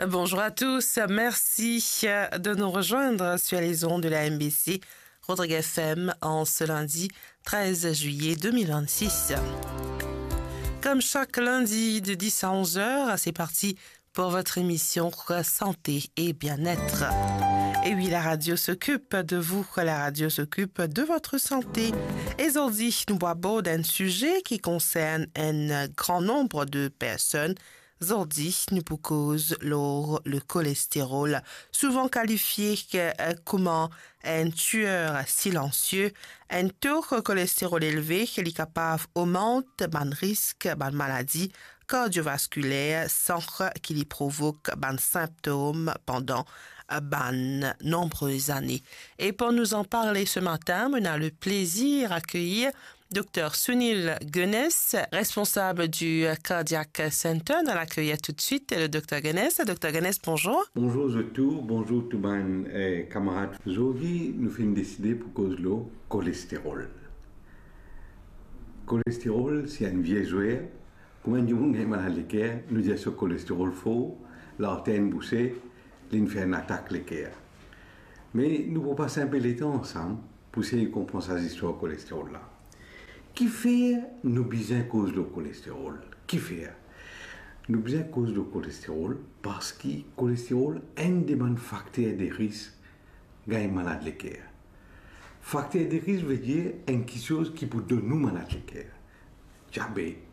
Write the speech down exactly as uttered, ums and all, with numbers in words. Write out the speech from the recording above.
Bonjour à tous, merci de nous rejoindre sur les ondes de la M B C Rodrigues F M en ce lundi treize juillet deux mille vingt-six. Comme chaque lundi de dix à onze heures, c'est parti pour votre émission Santé et Bien-être. Et oui, la radio s'occupe de vous, la radio s'occupe de votre santé. E zordi, nou pou abord un sujet qui concerne un grand nombre de personnes. Zordi, nou pou koz lor le cholesterol, souvent qualifié, euh, comme un tueur silencieux. Un taux de cholestérol élevé, li kapav ogmant bann risk bann maladi kardiovaskuler san ki li provok bann sinptom pandan bann nombreuses années. Et pour nous en parler ce matin, on a le plaisir d'accueillir Docteur Sunil Gunness, responsable du Cardiac Center. Nous allons l'accueillir tout de suite, le Docteur Gunness. Docteur Gunness, bonjour. Bonjour zot tou, bonjour tou bann, eh, kamarad. Zordi, nou finn deside pou koz lor cholesterol. Cholesterol, se enn vie zwer. Kouma enn dimoun gagn malad leker, nou dir so cholesterol for, larter inn bouse, linn fer enn atak leker. Me nou pou pas inpe letan ansam pou sey konpran sa zistwar cholesterol la. Kifer nou bizin koz lor cholesterol? Kifer? Nou bizin koz lor cholesterol parski cholesterol enn de bann fakter de risk gagn malad leker. Fakter de risk vedir enn kiksoz ki pou donn nou malad leker. Diabet,